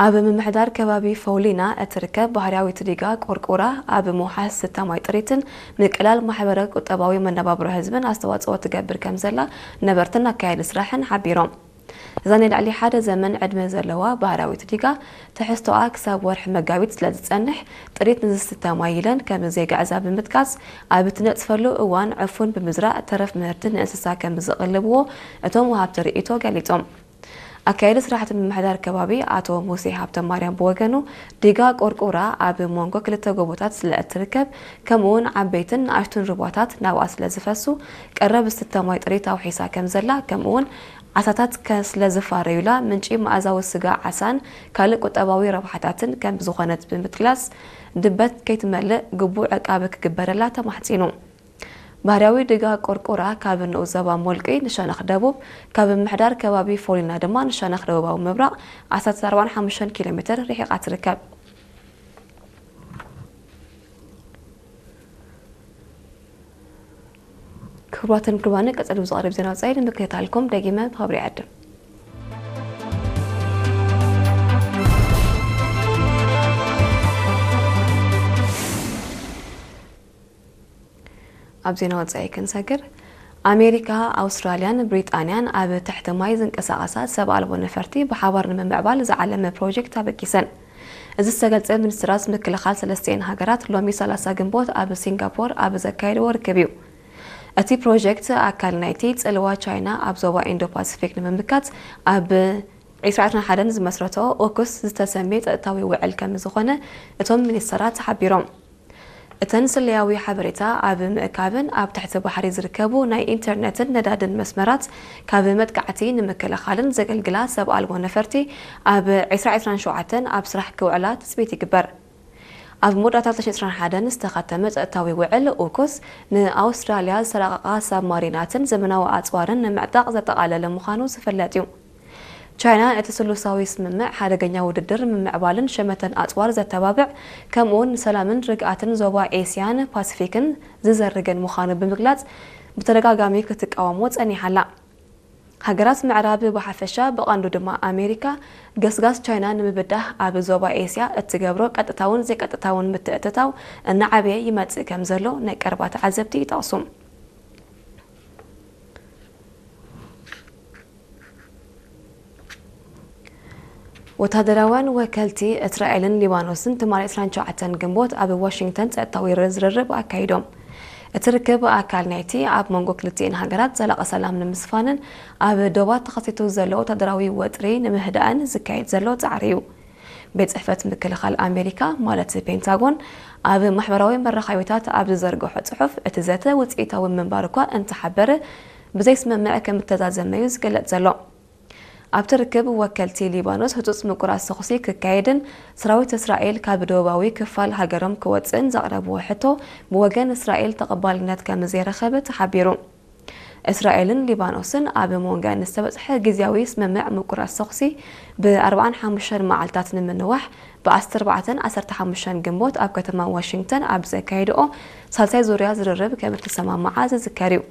ኣብ ምምሕዳር ከባቢ ፈውሊና እትርከብ ባህርያዊት ዲጋ ቆርቆራ ኣብ ምውሓስ ዝስተ ማይ ጥሪትን ምቅላል ማሕበረ ቁጠባዊ መነባብሮ ህዝብን ኣስተዋፅኦ ትገብር ከም ዘላ ነበርትን ኣካያዲ ስራሕን ሓቢሮም። እዛ ናይ ልዕሊ ሓደ ዘመን ዕድመ ዘለዋ ባህርያዊት ዲጋ ትሕዝቶኣ ክሳብ ወርሒ መጋቢት ስለ ዝጸንሕ፣ ጥሪት ንዝስተ ማይ ኢለን ከም ዘይግዕዛ ብምጥቃስ፣ ኣብ እትነጽፈሉ እዋን ዕፉን ብምዝራእ ተረፍ ምህርቲ ንእንስሳ ከም ዝቕልብዎ እቶም ወሃብቲ ርእይቶ ገሊጾም። ኣካያዲ ስራሕቲ ምምሕዳር ከባቢ ኣቶ ሙሴ ሃብተማርያም ብወገኑ፣ ዲጋ ቆርቆራ ኣብ መንጎ ክልተ ጎቦታት ስለ እትርከብ፣ ከምኡውን ዓበይትን ንኣሽቱን ሩባታት ናብኣ ስለ ዝፈሱ፣ ቀረብ ዝስተ ማይ ጥሪት ኣውሒሳ ከም ዘላ፣ ከምኡውን ዓሳታት ከ ስለ ዝፋረዩላ፣ ምንጪ መኣዛዊ ስጋ ዓሳን ካልእ ቁጠባዊ ረብሓታትን ከም ዝኾነት ብምጥቃስ፣ ድበት ከይትመልእ ግቡእ ዕቃበ ክግበረላ ተማሕጺኑ። ባህርያዊ ዲጋ ቆርቆራ ካብ ንኡስ ዞባ ሞልቂ ንሸነኽ ደቡብ፣ ካብ ምምሕዳር ከባቢ ፎሊና ድማ ንሸነኽ ደቡባዊ ምብራቕ ዓሰርተ ኣርባዕን ሓሙሽተን ኪሎ ሜትር ርሒቓ ትርከብ። ክቡራትን ክቡራንን፣ ቀጸሉ ብዝቐርብ ዜና ወጻኢ ንምክትታልኩም ደጊመ ብኽብሪ ይዕድም። ኣብ ዜና ወጻኢ ክንሰግር፣ ኣሜሪካ፣ ኣውስትራልያን ብሪጣንያን ኣብ ትሕቲ ማይ ዝንቀሳቐሳ ሰብ ኣልቦ ነፈርቲ ብሓባር ንምምዕባል ዝዓለመ ፕሮጀክት ኣበጊሰን። እዚ ዝተገልጸ፣ ሚኒስትራት ምክልኻል ሰለስቲኤን ሃገራት ሎሚ ሰላሳ ግንቦት ኣብ ሲንጋፖር ኣብ ዘካየድዎ ርክብ እዩ። እቲ ፕሮጀክት ኣካል ናይቲ ጽልዋ ቻይና ኣብ ዞባ ኢንዶ ፓሲፊክ ንምምካት ኣብ ዕስራ ዕስራን ሓደን ዝመስረቶ ኦኩስ ዝተሰምየ ጸጥታዊ ውዕል ከም ዝኾነ እቶም ሚኒስትራት ሓቢሮም። እተን ስለያዊ ሓበሬታ ኣብ ምእካብን ኣብ ትሕቲ ባሕሪ ዝርከቡ ናይ ኢንተርነትን ነዳድን መስመራት ካብ መጥቃዕቲ ንምክልኻልን ዘገልግላ ሰብ ኣልቦ ነፈርቲ ኣብ ዕስራ ዕስራን ሸውዓተን ኣብ ስራሕ ክውዕላ ትጽቢት ይግበር። ኣብ መወዳእታ ክልተ ሽሕን ዕስራን ሓደን ዝተኸተመ ጸጥታዊ ውዕል ኡኩስ ንኣውስትራልያ ዝተራቐቓ ሳብማሪናትን ዘመናዊ ኣጽዋርን ንምዕጣቕ ዘጠቓለለ ምዃኑ ዝፍለጥ እዩ። ቻይና እቲ ስሉሳዊ ስምምዕ ሓደገኛ ውድድር ምምዕባልን ሸመተን ኣጽዋር ዘተባብዕ፣ ከምኡውን ንሰላምን ርግኣትን ዞባ ኤስያን ፓሲፊክን ዝዘርግን ምዃኑ ብምግላጽ ብተደጋጋሚ ክትቃወሞ ጸኒሓ ኣላ። ሃገራት ምዕራብ ብሓፈሻ፣ ብቐንዱ ድማ ኣሜሪካ፣ ገስጋስ ቻይና ንምብዳህ ኣብ ዞባ ኤስያ እትገብሮ ቀጥታውን ዘይቀጥታውን ምትእትታው እናዓበየ ይመጽእ ከም ዘሎ ናይ ቀረባ ተዓዘብቲ ይጠቕሱ። ወታደራውያን ወከልቲ እስራኤልን ሊባኖስን ትማሊ ዕስራን ሸውዓተን ግንቦት ኣብ ዋሽንግተን ጸጥታዊ ዝርርብ ኣካይዶም። እቲ ርክብ ኣካል ናይቲ ኣብ መንጎ ክልቲኤን ሃገራት ዘላቒ ሰላም ንምስፋንን ኣብ ዶባት ተኸሲቱ ዘሎ ወታደራዊ ወጥሪ ንምህዳእን ዝካየድ ዘሎ ጻዕሪ እዩ። ቤት ጽሕፈት ምክልኻል ኣሜሪካ፣ ማለት ፔንታጎን፣ ኣብ ማሕበራዊ መራኸቢታት ኣብ ዝዘርግሖ ጽሑፍ፣ እቲ ዘተ ውጽኢታዊ ምንባር እኳ እንተሓበረ፣ ብዘይስምምዕ ከም እተዛዘመ እዩ ዝግለጽ ዘሎ። ኣብቲ ርክብ፣ ወከልቲ ሊባኖስ ህጹጽ ምቁራጽ ተኹሲ ክካየድን ሰራዊት እስራኤል ካብ ደቡባዊ ክፋል ሃገሮም ክወጽእን ዘቕረብዎ ሕቶ ብወገን እስራኤል ተቐባልነት ከም ዘይረኸበ ተሓቢሩ። እስራኤልን ሊባኖስን ኣብ መንጎኣን ዝተበጽሐ ግዝያዊ ስምምዕ ምቁራጽ ተኹሲ ብ ኣርባዓን ሓሙሽተን መዓልታት ንምንዋሕ ብ ዓሰርተ ኣርባዕተን ዓሰርተ ሓሙሽተን ግንቦት ኣብ ከተማ ዋሽንግተን ኣብ ዘካየድኦ ሳልሳይ ዙርያ ዝርርብ ከም እተሰማምዓ ዝዝከር እዩ።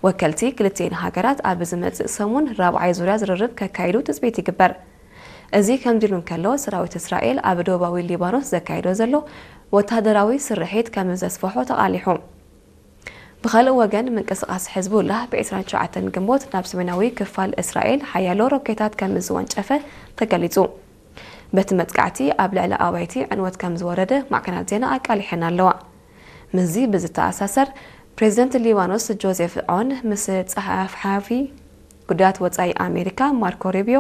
ወከልቲ ክልቲኤን ሃገራት ኣብ ዝመጽእ ሰሙን ራብዓይ ዙርያ ዝርርብ ከካይዱ ትጽቢት ይግበር። እዚ ከምዚ ኢሉ እንከሎ፣ ሰራዊት እስራኤል ኣብ ደቡባዊ ሊባኖስ ዘካይዶ ዘሎ ወተሃደራዊ ስርሒት ከም ዘስፍሖ ተቓሊሑ። ብኻልእ ወገን፣ ምንቅስቓስ ሕዝቡላህ ብ ዕስራን ሸውዓተን ግንቦት ናብ ሰሜናዊ ክፋል እስራኤል ሓያሎ ሮኬታት ከም ዝወንጨፈ ተገሊጹ። በቲ መጥቃዕቲ ኣብ ልዕሊ ኣባይቲ ዕንወት ከም ዝወረደ ማዕከናት ዜና ኣቃሊሐን ኣለዋ። ምስዚ ብዝተኣሳሰር፣ ፕሬዚደንት ሊባኖስ ጆዜፍ ዖን ምስ ጸሓፊ ጉዳያት ወጻኢ ኣሜሪካ ማርኮ ሩቢዮ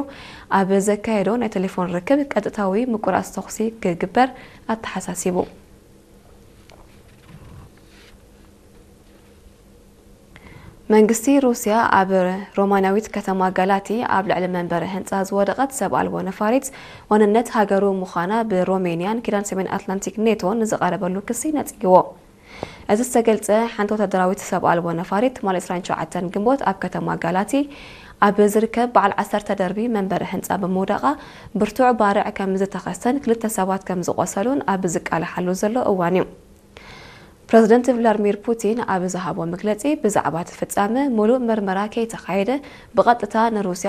ኣብ ዘካየዶ ናይ ቴሌፎን ርክብ፣ ቀጥታዊ ምቁራጽ ተኹሲ ክግበር ኣተሓሳሲቡ። መንግስቲ ሩስያ ኣብ ሮማናዊት ከተማ ጋላቲ ኣብ ልዕሊ መንበሪ ህንጻ ዝወደቐት ሰብ ኣልቦ ነፋሪት ዋንነት ሃገሩ ምዃና ብሮሜንያን ኪዳን ሰሜን ኣትላንቲክ ኔቶን ንዝቐረበሉ ክሲ ነጺግዎ። እዚ ዝተገልጸ፣ ሓንቲ ወታደራዊት ሰብ ኣልቦ ነፋሪት ትማሊ ዕስራን ሸውዓተን ግንቦት ኣብ ከተማ ጋላቲ ኣብ ዝርከብ በዓል ዓሰርተ ደርቢ መንበሪ ህንጻ ብምውዳቓ ብርቱዕ ባርዕ ከም ዝተኸስተን ክልተ ሰባት ከም ዝቖሰሉን ኣብ ዝቃላሓሉ ዘሎ እዋን እዩ። ፕረዚደንት ቭላድሚር ፑቲን ኣብ ዝሃቦ መግለጺ፣ ብዛዕባ እቲ ፍጻመ ምሉእ መርመራ ከይተኻየደ ብቐጥታ ንሩስያ